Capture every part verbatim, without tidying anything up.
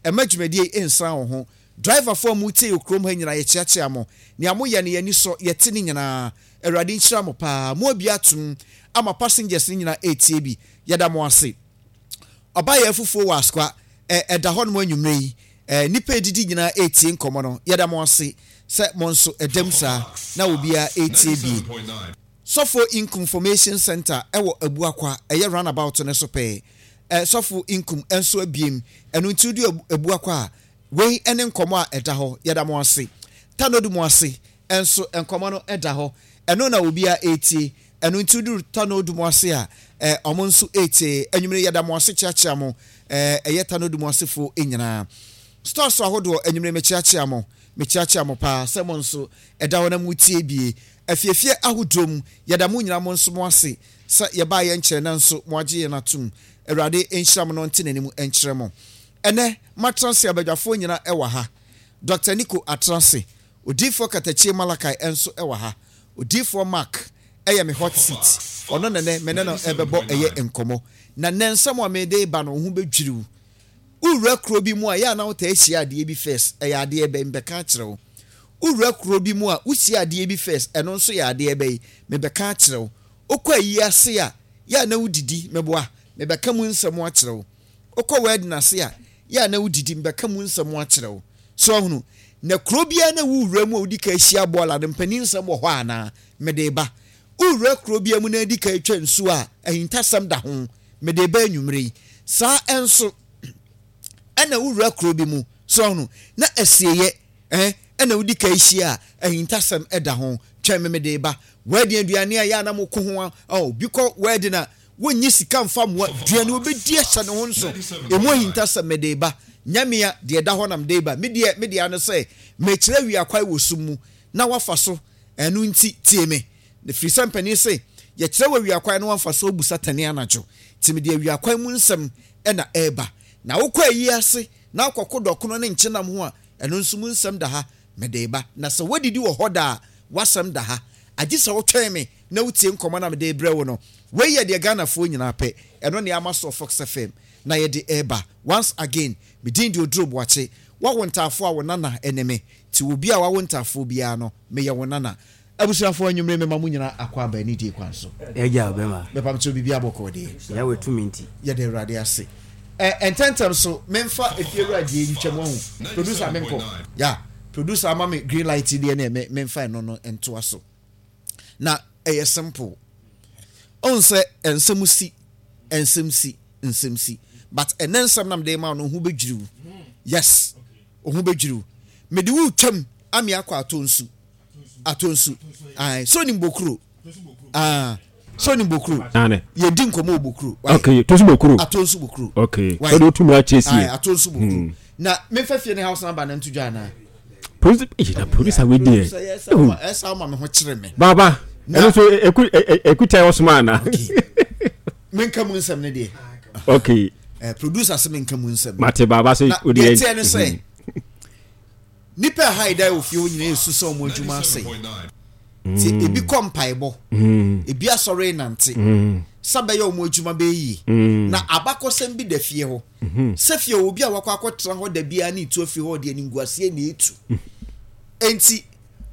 Ɛma dwumadie yi nsan wo ho. Driverfoɔ a motie wɔ kurom ha nyinaa, yɛkyeakyea mo. Nea moyɛ no, yɛn ani sɔ, yɛte ne nyinaa. Awurade nhyira mo paa. Mo abue atom ama passengers no nyinaa ɛretie bi. Yɛda mo ase. Ɔbaayɛ afufuo wɔ Asokwa, ɛ, ɛda hɔnom anwummerɛ yi. Ɛ, nnipa ɛredidi nyinaa ɛretie nkɔmmɔ no. Yɛda mo ase sɛ mo nso ɛdam saa na obiara ɛretie bi. Sɔfo Inkum Formation Centre ɛwɔ Abuakwa, ɛyɛ roundabout no so pɛɛ. Ɛ, Sɔfo Inkum nso abiem. Ɛno nti wodi Abuakwa a, wei ne nkɔmmɔ a ɛda hɔ. Yɛda mo ase. Tanodu mo ase nso nkɔmmɔ no da hɔ. Ɛno na obiara ɛretie. Ɛno nti woduru Tanodu mo ase a, ɛ, ɔmo nso ɛretie. Anwummere yɛda mo ase kyeakyea mo. Ɛ, ɛyɛ Tanodu mo asefoɔ nyinaa. Stores ahodoɔ, anwummere mekyeakyea mo. Mekyeakyea mo paa sɛ mo nso ɛda hɔ na motie bie. Afiefie ahodoɔ mu, yɛda mo nyinaa mo nso mo ase sɛ yɛbaa yɛn nkyɛn nanso mo agye yɛn atom. Awurade nhyira mo na ɔnte n'anim nkyerɛ mo. Ɛnɛ, matena ase abadwafoɔ nyinaa ɛwɔ ha. Doctor Nico atena ase. Odiyifoɔ Katakyie Malachi nso ɛwɔ ha. Odiyifoɔ Mark ɛyɛ me hot seat. Ɔno nɛnɛ me ne no ɛbɛbɔ ɛyɛ nkɔmmɔ. Na nnɛ nsɛm a mede ba no, wo ho bɛdwiriw. Wowura kuro bi mu a, yɛ a na wotaa hyia adeɛ bi first, ɛyɛ adeɛ bɛn? Mebɛka akyerɛ wo. Wowura kuro bi mu a, wohyia adeɛ bi first, ɛno nso yɛ adeɛ bɛn? Mebɛka akyerɛ wo. Wokɔ ayi ase a, yɛ a na wodidi, meboa, mebɛka mu nsɛm akyerɛ wo. Wokɔ wedding ase a, yɛ a na wodidi, mebɛka mu nsɛm akyerɛ wo. So ahunu, na kuro biara na wowura mu a wodi ka ahyia bɔɔla no, mpanin nsɛm wɔ hɔ anaa? Mede ba. Wowura kuro biara mu na adi ka atwa nsuo a, ahintasɛm da ho. Mede ba anwummere yi. Saa nso, ɛna wowura kuro bi mu, so ahunu, na asieyɛ, eh, ɛna wodi ka ahyia a, ahintasɛm da ho. Twɛn me, mede ba. Wedding aduane a yɛ a na moko ho a, oh, bi kɔ wedding a, wonnye sika mfa mmoa, aduane wobɛdi ahyɛ ne ho nso. Emu ahintasɛm mede ba. Nyamea, deɛ ɛda hɔ na mede ba. Me deɛ, me deɛ ano sɛ, mekyerɛ wiakwae wɔ sum mu, na wafa so. Ɛno nti, tie me. Na firi sɛ mpanin se, yɛkyerɛ wɔ awiakwae na wamfa so abu satani anadwo. Nti mede awiakwae mu nsɛm na ɛreba. Na wokɔ ayi ase na wokɔko dɔkono ne nkyenam ho a, ɛno nso mu nsɛm da ha, mede reba. Na sɛ woadidi wɔ hɔ da a, w'asɛm da ha. Agye sɛ wotwɛn me na wotie nkɔmmɔ no a mede rebrɛ wo no. Wei yɛ deɛ Ghanafoɔ nyinaa pɛ. Ɛno na yɛama soɔ Fox F M na yɛde reba. Once again, me din de Oduro Boakye. Woawo ntaafoɔ a, wo nana ne me. Nti obi a wawo ntaafoɔ biara no, meyɛ wo nana. Abusuafoɔ, anwummere mema mo nyinaa akwaaba anidie kwan so. Agya ɔbɛma. Mepam kyerɛ biribi abɔkɔɔ deɛ. Yahweh tumi nti. Yɛda Awurade ase. Ɛ ntɛntɛm so memfa efie wura deɛ ntwam ahu. Producer menkɔ. Ya producer ama me green light deɛ ne me memfa ɛno no ntoa so. Na ɛyɛ simple. Ɔn sɛ nsɛm si, nsɛm si, nsɛm si. But ɛnɛ nsɛm na mede ma no ho bɛdwiriw. Yes. Ho bɛdwiriw. Mede wo twam ame akɔ atɔ nsu. Atɔ nsu. Ae, so nim bokuro. Ah, so nim bokuro. Yɛdi nkɔmmɔ wɔ bokuro. Okay, to nsu bokuro. Atɔ nsu bokuro. Okay. So do tumi akyɛ sie. Ae, atɔ nsu bokuro. Hmm. Na memfa fie ne house number na nto dwa anaa? Producer, eh, na producer we deɛ. Ɛsa ama me ho kyerɛ me. Baba, ɛno so eku ekuta ɔsoma ana? Okay. Menka mu nsɛm ne deɛ. Okay. Eh, producer sɛ menka mu nsɛm. Mate baba sɛ o deɛ. Na deɛ teɛ ne sɛ nipa ɛha yi da wɔ fie hɔ nyinaa esu sɛ wɔn adwuma asɛe. Nti mm. ebi kɔ mpaebɔ, mm. ebi asɔre nante, mm. sɛ bɛyɛ wɔn adwuma bɛyɛ yie. Na abakɔsɛm bi da fie hɔ. Mm-hmm. Sɛ fie obi a wakɔ akɔtena hɔ da biara ne etu afiri hɔ deɛ ne nguaseɛ na etu. Nti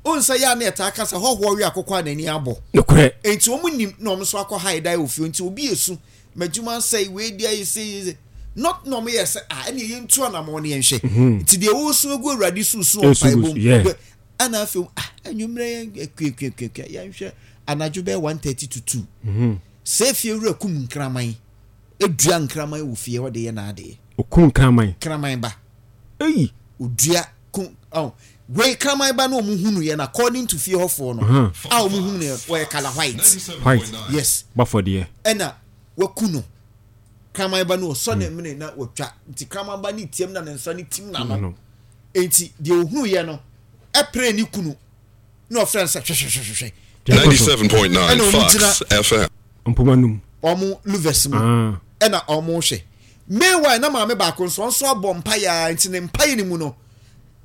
onsa yɛ a na ɛtaa kasa hɔhoɔ we akokɔ a n'ani abɔ. Nokorɛ. Nti wɔn nim na wɔn nso akɔ ha ɛda wɔ fie nti obi esu m'adwuma asɛe wei deɛ ayɛ sei yɛ sei not na wɔn yɛ sɛ ah ɛna yɛn ntu anamɔ ne yɛn hwɛ mhm. nti deɛ wɔresu egu awurade susu wɔn mpaebɔ mu ɛna afei ah enyimrɛ yɛn kuakuakuakua yɛn hwɛ anadwo bɛyɛ one thirty to two mhm. sɛ efie wura kum nkraman edua nkraman wɔ fie hɔ de yɛ n'adeɛ. Okum nkraman. Kraman ba. Eyi. Odua kum ɔn wei kraman ba na wɔn hunu yɛ no according to fie hɔfoɔ no a wɔn hunu yɛ wɔyɛ colour white. White. Yes. Bafɔdeɛ. Ɛna waku no kraman ba no ɔsɔ ne mene na watwa nti kraman ba ne tiam na ne nsa ne tim na no nti deɛ ohunu yɛ no ɛpere ne kunu na ɔfrɛ no sɛ hwɛhwɛhwɛhwɛ. Ninety seven point nine Fox F M. Mpoma num. Wɔn louvers mu ɛna wɔn hwɛ. Meanwhile na maame baako nso ɔnso abɔ mpaeɛ ara nti ne mpaeɛ no mu no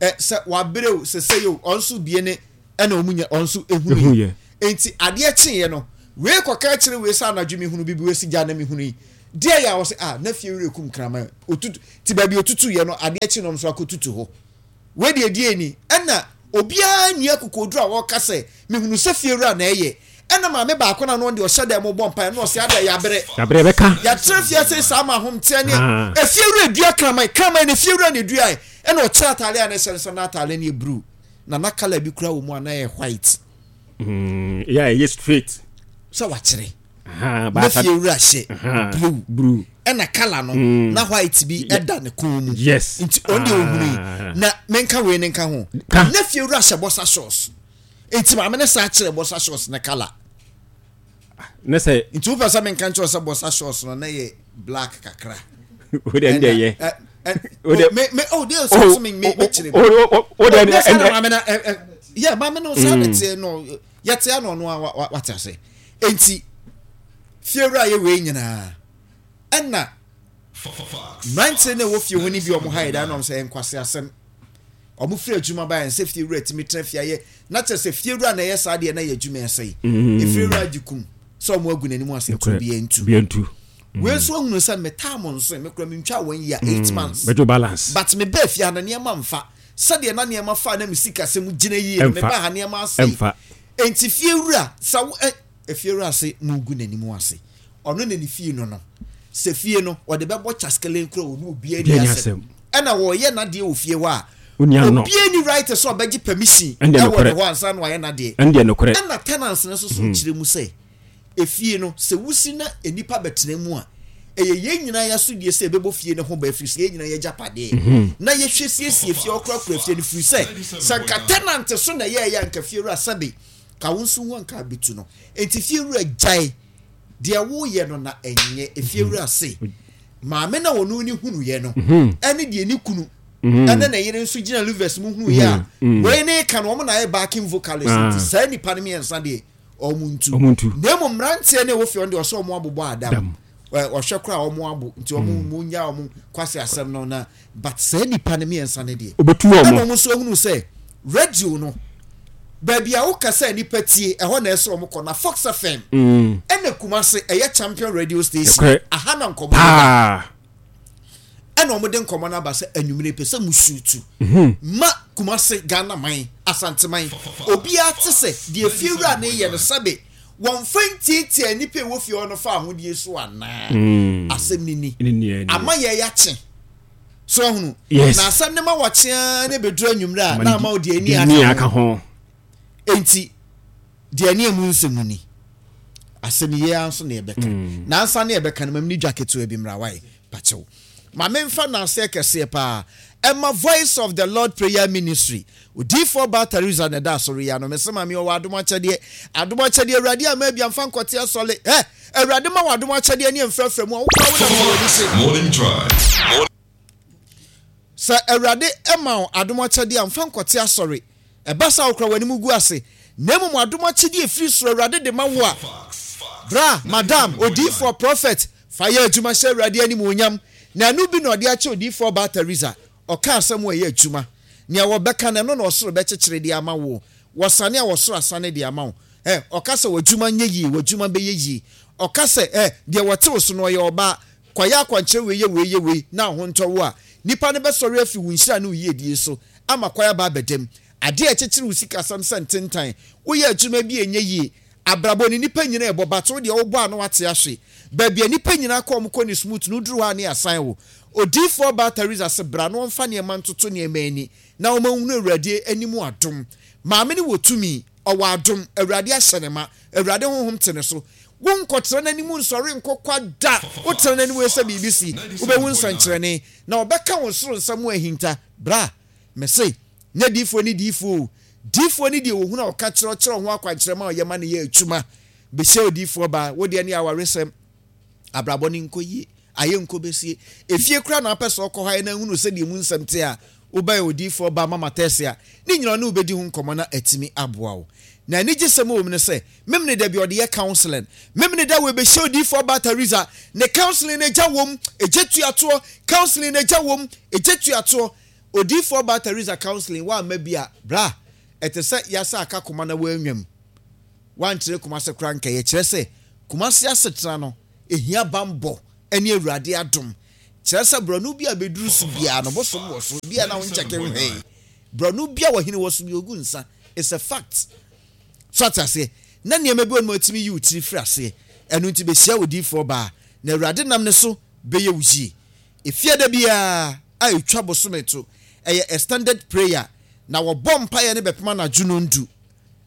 ɛ sɛ wabrɛ o sɛ sɛ yɛ o ɔnso bie ne ɛna wɔn nya ɔnso ehunu yɛ nti adeɛ kyeeɛ no wei kɔka akyerɛ wei sɛ anadwo mehunu bibi wei si gya na mehunu yi Deɛ yɛ a wɔsɛ ah, na fie wura kum kraman otutu ti baabi otutu yɛ no, adeɛ kyi nom so akɔtutu hɔ. Wei deɛ deɛ ni ɛna obiara nni akokoduro a wɔka sɛ mehunu sɛ fie wura na ɛyɛ. Ɛna maame baako na no deɛ ɔhyɛ dɛm bɔ mpaeɛ na ɔsɛ adeɛ yɛabrɛ. Yabrɛ bɛka. Yɛatena fie ase saa ma ahomteɛ ne Ah. efie wura dua kraman, kraman na efie wura na edua yɛ. Ɛna ɔkyerɛ ataare a na ɛhyɛ no sɛ na ataare no yɛ blue na na colour bi kura wɔ mu a na yɛ white. Mm, yeah, ɛyɛ straight. Sɛ wakyerɛ Aha, na baasa- fie wura hyɛ Aha, blue blue. ɛna colour no Mm. na white bi ɛda ne kɔn mu. Yes. Nti ɔno deɛ ohunu yi Ah. na menka wei ne nka ho. Ka. Na fie wura hyɛ boxer shorts, nti maame ne saa kyerɛ boxer shorts ne colour. Ne sɛ Nti wopɛ sɛ menka nkyerɛ sɛ boxer shorts no na yɛ black kakra. O de ɛn deɛ yɛ. Ɛ- ɛ- O de- o, me me oh deɛ sɛ sɛ me me me kyerɛ O o o o de Oh, ne saa na ɛn maame na ɛ ɛ yɛ maame no saa na teɛ no, yɛte ano, ɔno a wa- wa- wate ase. Nti fie wura yɛ wei nyinaa, ɛna mmeranteɛ no a ɛwɔ fie hɔ no bi, ɔmo ha yɛ da na ɔmo sɛ nkwasi asɛm. Ɔmo firi adwuma ba yɛn sɛ fie wura tumi tena fie ayɛ na kyerɛ sɛ fie wura na ɛyɛ saa deɛ na yɛ adwuma ɛsɛ yi. Efie wura agye kum sɛ ɔmo agu n'anim ase ntu bi ntu. Bi ntu. Wei nso ahunu sɛ metaa mo nso mekura mentwa wɔn yi a eight months Bɛdwo balance. but me bɛɛ fie ha na nneɛma mfa sɛdeɛ na nneɛma fa na me sika sɛm gyina yie no. Ɛmfa. Meba ha, nneɛma asɛe. Ɛmfa. Enti fie wura sa wo ɛ efie wura ase mu gu n'anim ase, ɔno na ne fie no no sɛ fie no ɔde bɛbɔ kyaskelen kura wɔn obiara ni Obiara ni asɛm. asɛm. Ɛna wɔyɛ n'adeɛ wɔ fie hɔ a Wonni ano. obiara ni right sɛ ɔbɛgye permission Ɛndeɛ ɛwɔ nokorɛ. ne hɔ ansa na wayɛ n'adeɛ. Ɛn deɛ nokorɛ. Ɛna tenants no nso so kyerɛ mu sɛ efie no sɛ wusi na nipa bɛtena mu a, ɛyɛ yɛn nyinaa yɛaso die sɛ ɛbɛbɔ fie no ho ba, ɛfiri sɛ yɛn nyinaa yɛgya padeɛ na yɛhwɛ siesie fie, ɔkorakora fie no, firi sɛ sɛ nka tenant so na yɛɛyɛ anka fie wura sɛbe ka wo nso ho anka abɛtu no. Enti fie wura, gyae deɛ woyɛ no na ɛnyɛ. Efie wura se maame na wɔn ne hunuyɛ no ɛne deɛ ne kunu ɛne ne yere nso gyina louvers mu hunuyɛ a wei ne ka no, wɔn na ayɛ backing vocalist. Ah. Nti saa nipa no mmiɛnsa deɛ, ɔmo ntu. Ɔmo ntu. Na emu mmeranteɛ no a ɛwɔ fie hɔ no deɛ, ɔsɛ ɔmo abobɔ adam. Dam. Ɛ, ɔhwɛ koraa ɔmo abo nti ɔmo mo nya ɔmo kwasi asɛm no na but saa nipa no mmiɛnsa no deɛ, Obetu ɛna wɔn. ɔmo nso ehunu sɛ radio no baabi a woka sɛ nipa tie ɛhɔ na ɛsɛ ɔmo kɔ na Fox F M Mm. ɛna Kumase ɛyɛ champion radio station. Ɛkorɛ. Aha na nkɔmɔ no ba. Paa. Ɛna ɔmo de nkɔmɔ no aba sɛ anwummerɛ pɛ sɛ musuutu ma Kumase, Ghana man, Asanteman, obiara te sɛ deɛ fie wura ne yɛ no, sɛbe wɔmfa ntiatia nipa a ɛwɔ fie hɔ no fa ahodie so anaa. Asɛm ni ni. Ne ni ni. Ama yɛ yɛakye so ɔhunu. Yes. Na asɛm ne ma wɔkyeaa ne bɛduru anwummerɛ a na ama wo deɛ Deɛ ani ani aka aka ho. ho. Enti deɛ ani emu nsɛm ni, asɛm yi ara nso na yɛbɛka nansa ne yɛbɛka no mam ne dwa ketewa bi mmra wae pakyɛw ma memfa nanseɛ kɛseɛ paa ɛma Voice of the Lord Prayer Ministry. Odiifoɔ baa Teresa na ɛda asɔre yi ano. Mese ma me ɔwɔ adom akyɛdeɛ, adom akyɛdeɛ Awurade ama bi amfa nkɔte asɔle ɛ. Awurade ma wɔ adom akyɛdeɛ ne mfrɛfrɛ mu a wokora wo nam sɛ w'ani se. Morning Drive. Sɛ Awurade ma wo adom akyɛdeɛ a, mfa nkɔte asɔre. Ɛba sa wokora w'anim gu ase, na mmom adom akyɛdeɛ ɛfiri soro Awurade de ma wo a, bra, madam odiifoɔ, prophet, fa yɛ adwuma hyɛ Awurade anim onyam. Na ɛno bi na ɔde akyɛ odiifoɔ baa Teresa. Ɔka asɛm a ɛyɛ adwuma, nea wɔbɛka no ɛno na ɔsoro bɛkyekyere de ama wo. Wɔsane a wɔsoro asane de ama wo. Ɛ ɔka sɛ w'adwuma nyɛ yie, w'adwuma bɛyɛ yie. Ɔka sɛ ɛ deɛ wɔte wo so no ɔyɛ ɔbaa, kɔyɛ akwankyerɛ wei, yɛ wei, yɛ wei na ho ntɔ wo a, nipa no bɛsɔre afi wo nhyira ne wo yiedie so ama kwan aba abɛdam. Adeɛ a ɛkyekyere wo sikasɛm sɛ ntentan, woyɛ adwuma bi a ɛnyɛ yie, abrabɔ ne nipa nyinaa ɛbɔ bato deɛ wobɔ a na wate ahwe baabi a nipa nyinaa kɔ, ɔmo kɔ ne smooth no duru hɔ a ne asan wo. Odiifoɔ baa Teresa sɛ bra na ɔmfa nneɛma ntoto nneɛma ani na ɔma nhunu Awurade anim adom. Maame no wɔ tumi, ɔwɔ adom, Awurade ahyɛ ne ma, Awurade honhom te ne so. Wonkɔtena n'anim nsɔre nkɔkwa da. Wotena n'anim sɛ biribi si, wobɛhu nsɛnkyerɛnne na ɔbɛka wo soro nsɛm ahinta. Bra, mese nyɛ diifoɔ ne diifoɔ o, diifoɔ ne deɛ wɔhunu a ɔka kyerɛ kyerɛ ho akwankyerɛ ma ɔyɛ ma no yɛ adwuma. Bɛhyia odiifoɔ baa, wodeɛ ne awaresɛm, abrabɔ ne nkɔ yie, ayɛ nkɔ bɛsie efie kora na apɛ sɛ ɔkɔ hɔ ayɛ na ahunu sɛdeɛ mu nsɛm te a, wobɛyɛ odiifoɔ ba mama tɛse a ne nyina ne wobɛdi ho nkɔmmɔ na atumi aboa wo. Na anigye sɛm wɔ mu no sɛ memene da bi ɔde yɛ counseling, memene da wɔbɛhyia odiifoɔ ba Teresa ne counseling no agya wom, ɛgye tuatoɔ counseling no agya wom, ɛgye tuatoɔ. Odiifoɔ ba Teresa counseling woamma bi a, bra, ɛte sɛ yɛasɛ aka koma na woanwam wankyerɛ Kumase kora nkɛyɛ kyerɛ sɛ Kumase asetena no ehia bambɔ. Ɛne Awurade adom. Kyerɛ sɛ borɔno bi a bɛduru so biara no, bosom wɔ so. Bia na wonkyɛke nhwɛe. Borɔno bi a wɔhene wɔ so bi ogu nsa. It's a fact. So ate aseɛ? Na nneɛma bi wɔ no atumi yi wo tiri firi aseɛ. Ɛno nti bɛhyia odiyifoɔ baa, na Awurade nam ne so bɛyɛ wo yie. Efiada biara a ɛtwa bosome to, ɛyɛ extended prayer, na wɔbɔ mpaeɛ no bɛpem anadwo nondu,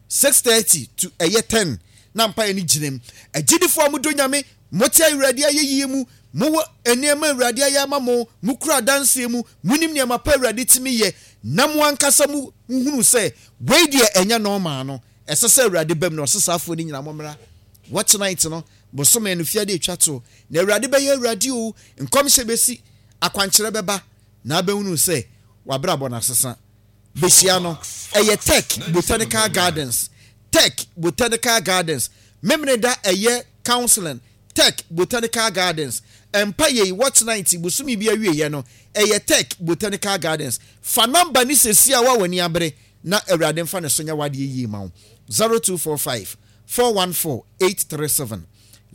six thirty to ɛyɛ ten, na mpaeɛ no gyina mu. Agyidifoɔ a modɔ Nyame, mote Awurade ayɛyie mu, mowɔ nneɛma Awurade ayɛ ama mo, mokura adanseɛ mu, monim nneɛma pa Awurade tumi yɛ, na mo ankasa mo hunu sɛ wei deɛ ɛnyɛ normal no, ɛsɛ sɛ Awurade bam na ɔse saafoɔ no nyinaa mommra. Watch night no, bosome no fiade atwa to, na Awurade bɛyɛ Awurade o, nkɔmhyɛ bɛsi, akwankyerɛ bɛba, na abɛhunu sɛ wabrabɔ no asesa. Bɛhyia no, ɛyɛ Tech Botanical Gardens. Tech Botanical Gardens. Memene da ɛyɛ counseling. Tech Botanical Gardens. Ɛmpa yei, watch night, bosome bi awieɛ no, ɛyɛ Tech Botanical Gardens. Fa number ne sɛsi a wa w'ani abere, na Awurade mfa ne so nyɛ w'adeɛ yie ma wo. zero two four five, four one four, eight three seven.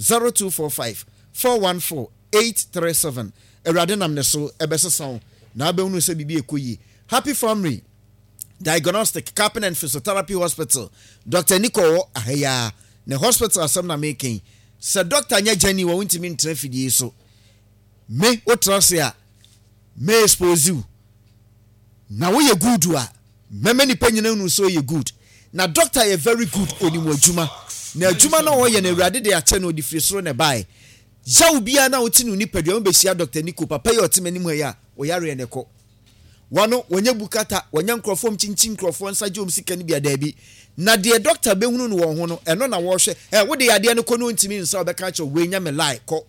zero two four five, four one four, eight three seven. Awurade nam ne so ɛbɛsesa wo, na abɛhunu sɛ biribi ɛkɔ yie. Happy Family Diagnostic Cupping and Physiotherapy Hospital. Doctor Nico wɔ ahaya. Ne hospital asɛm na meka yi. Sɛ doctor nyɛ gyani wɔ wontumi ntena fidie so. Me wotra se a me expose you. Na woyɛ good a mɛmɛ nipa nyina nu sɛ ɔyɛ good. Na doctor yɛ very good onim adwuma. Na adwuma na ɔyɛ na Awurade de akyɛ no ɔde firi soro na ɛbae. Yaw bia na wote no nipadua mu bɛhyia Doctor Nico papa yi ɔte m'anim ha yi a ɔyareɛ ne kɔ. Wano wɔnyɛ bukata, wɔnyɛ nkurɔfoɔ mkyinkyin nkurɔfoɔ nsa gye wɔn sika no bia daabi. Na deɛ doctor bɛhunu no wɔn ho no, ɛno na wɔrehwɛ. Ɛ wode yadeɛ no kɔ no ntumi nsa wɔbɛka akyerɛ wei nyɛ me lie kɔ.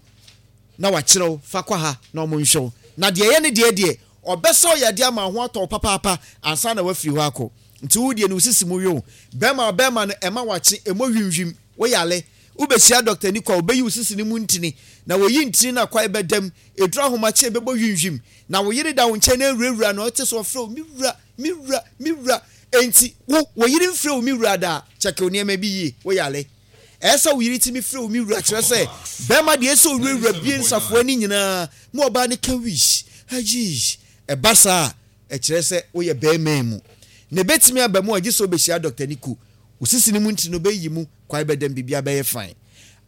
Na wakyerɛ wo fa kɔ ha na ɔmo nhwɛ wo. Na deɛ ɛyɛ ne deɛ deɛ ɔbɛsa wo yadeɛ ama ho atɔ wo papaapa ansa na wafiri hɔ akɔ. Nti wo deɛ no wo sisi mu we wo. Bɛrima bɛrima no ɛma wakye ɛmɔ hwimhwim wo yale. Wobɛhyia doctor ni kɔ a ɔbɛyi wo sisi no mu ntini. Na wɔyi ntini no akwae bɛdam. Ɛduru ahomakye ɛbɛbɔ hwimhwim. Na wo yere da wo nkyɛn na awurawura na ɔte so ɔfrɛ wo me wura me wura me wura. Enti wo wo yere mfrɛ wo me wura da kyɛke wo nneɛma bi yie wo yale. Ɛsɛ wo yere timi frɛ wo me wura kyerɛ sɛ bɛrima deɛ ɛsɛ owurawura bie nsafoa ne nyinaa ma ɔbaa ne ka wish ayi ɛba saa ɛkyerɛ sɛ woyɛ bɛrima mu. Na ɛbɛtumi aba mu a gye sɛ wobɛhyia Doctor Nico. Wo sisi ne mu ntini no bɛyi mu kwae bɛdam biribiara bɛyɛ fine.